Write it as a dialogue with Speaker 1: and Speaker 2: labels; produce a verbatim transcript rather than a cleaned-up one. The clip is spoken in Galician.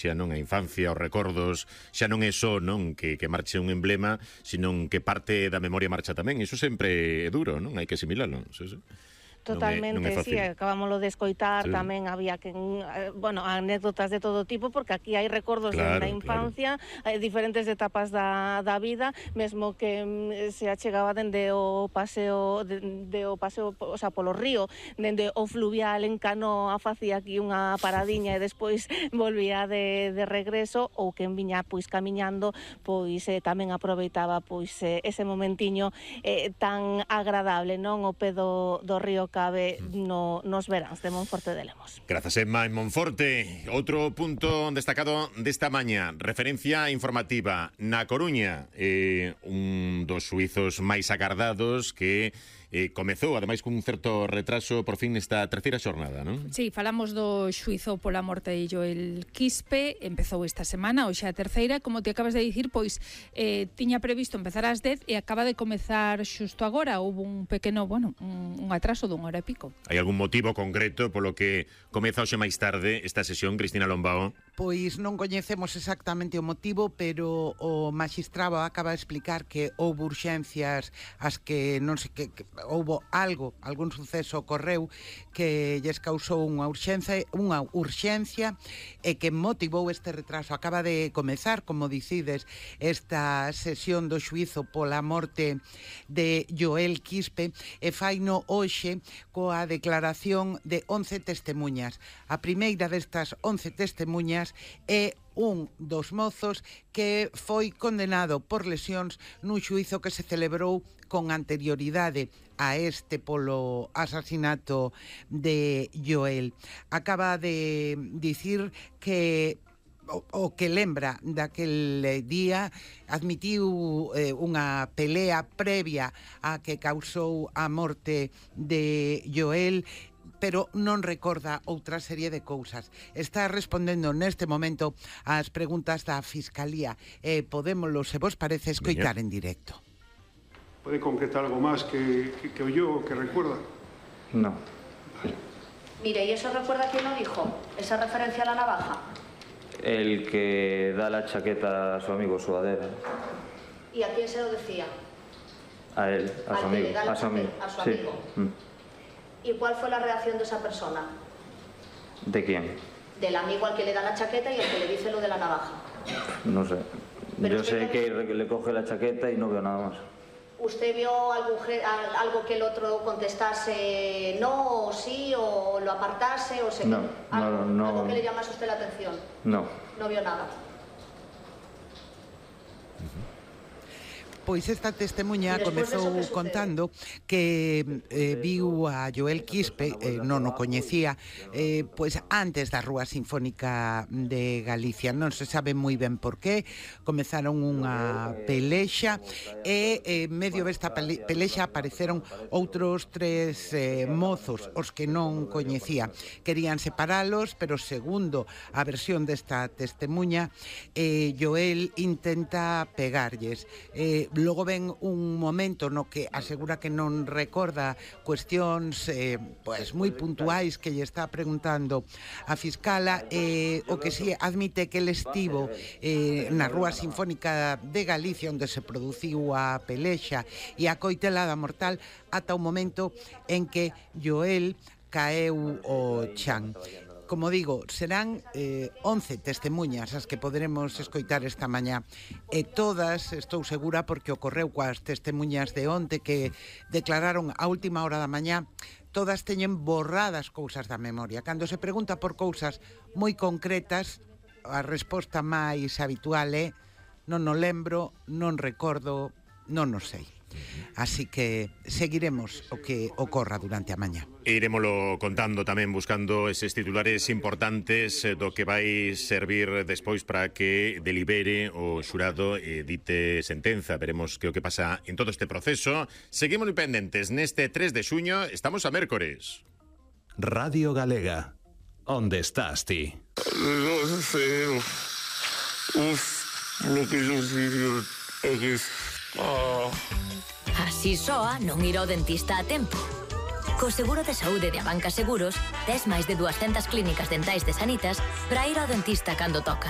Speaker 1: xa non a infancia, os recordos, xa non é só non que, que marche un emblema, senón que parte da memoria marcha tamén. Iso sempre é duro, non? Hai que asimilalo. Sí, sí.
Speaker 2: Totalmente,
Speaker 1: non é, non é
Speaker 2: sí, acabámoslo de escoitar, sí. Tamén había que, bueno, anécdotas de todo tipo, porque aquí hai recordos claro, da infancia, claro. Hai diferentes etapas da, da vida, mesmo que se achegaba dende o paseo, dende o paseo, o sea, polo río, dende o fluvial en canoa, facía aquí unha paradiña e despois volvía de, de regreso, ou que en viña, pois, camiñando, pois, eh, tamén aproveitaba, pois, eh, ese momentiño eh, tan agradable, non? O pé do, do río Cabe no, nos veráns de Monforte de Lemos.
Speaker 1: Grazas, Emma, en Monforte. Outro punto destacado desta maña, referencia informativa na Coruña, eh, un dos suizos máis agardados que eh, comezou, ademais, cun certo retraso por fin nesta terceira xornada, non?
Speaker 3: Sí, falamos do xuizo pola morte de Joel Quispe, empezou esta semana, hoxe a terceira, como te acabas de dicir, pois eh, tiña previsto empezar ás dez e acaba de comezar xusto agora, houve un pequeno, bueno, un, un atraso dun hora e pico.
Speaker 1: Hai algún motivo concreto polo que comeza hoxe máis tarde esta sesión, Cristina Lombao?
Speaker 4: Pois non coñecemos exactamente o motivo, pero o magistrado acaba de explicar que houve urxencias as que non sei que, que houve algo, algún suceso ocorreu que lles causou unha urxencia, unha urxencia e que motivou este retraso. Acaba de comezar, como dicides, esta sesión do xuizo pola morte de Joel Quispe e faino hoxe coa declaración de once testemuñas. A primeira destas once testemuñas é un dos mozos que foi condenado por lesións nun xuizo que se celebrou con anterioridade a este polo asasinato de Joel. Acaba de dicir que o, o que lembra daquel día, admitiu eh, unha pelea previa a que causou a morte de Joel, pero non recorda outra serie de cousas. Está respondendo neste momento ás preguntas da Fiscalía e podémoslo, se vos parece, escoitar en directo.
Speaker 5: ¿Puede concretar algo más que, que, que oyó o que recuerda?
Speaker 6: No.
Speaker 5: Vale.
Speaker 7: Mire, ¿y eso recuerda quién lo dijo? ¿Esa referencia a la navaja?
Speaker 6: El que da la chaqueta a su amigo Suadera.
Speaker 7: ¿Y a quién se lo decía?
Speaker 6: A él, a su amigo.
Speaker 7: A su amigo. A su amigo.
Speaker 6: Sí. Mm.
Speaker 7: ¿Y cuál fue la reacción de esa persona?
Speaker 6: ¿De quién?
Speaker 7: Del amigo al que le da la chaqueta y al que le dice lo de la navaja.
Speaker 6: No sé.
Speaker 7: Pero
Speaker 6: Yo sé que le coge la chaqueta y no veo nada más.
Speaker 7: ¿Usted vio algún, algo que el otro contestase no o sí o lo apartase o se...
Speaker 6: No,
Speaker 7: algo,
Speaker 6: no, no.
Speaker 7: ¿Algo que le llamase a usted la atención?
Speaker 6: No.
Speaker 7: No vio nada.
Speaker 4: Pois esta testemuña comezou contando que eh, viu a Joel Quispe, eh, non o coñecía, eh, pois antes da Rúa Sinfónica de Galicia. Non se sabe moi ben por qué. Comezaron unha pelexa e eh, medio desta pelexa apareceron outros tres eh, mozos, os que non coñecía. Querían separalos, pero segundo a versión desta testemuña, eh, Joel intenta pegarlles. Eh, Logo ven un momento no que asegura que non recorda cuestións eh, pues, moi puntuais que lle está preguntando a fiscala, eh, o que si admite que el estivo eh, na Rúa Sinfónica de Galicia onde se produciu a pelexa e a coitelada mortal ata o momento en que Joel caeu o chan. Como digo, serán eh, once testemuñas as que poderemos escoitar esta mañá e todas, estou segura, porque ocorreu coas testemuñas de onte que declararon a última hora da mañá, todas teñen borradas cousas da memoria. Cando se pregunta por cousas moi concretas, a resposta máis habitual é non o lembro, non recordo, non o sei. Así que seguiremos o que ocorra durante a mañá.
Speaker 1: E iremoslo contando tamén, buscando eses titulares importantes do que vai servir despois para que delibere o xurado e dite sentenza. Veremos que o que pasa en todo este proceso. Seguimos pendentes neste tres de xuño, estamos a mércores.
Speaker 8: Radio Galega. Onde estás ti?
Speaker 9: Non sei. Uf, lo que yo digo é que... Oh.
Speaker 10: Así soa non ir ao dentista a tempo. Co seguro de saúde de Abanca Seguros, tes máis de dúascentas clínicas dentais de Sanitas para ir ao dentista cando toca.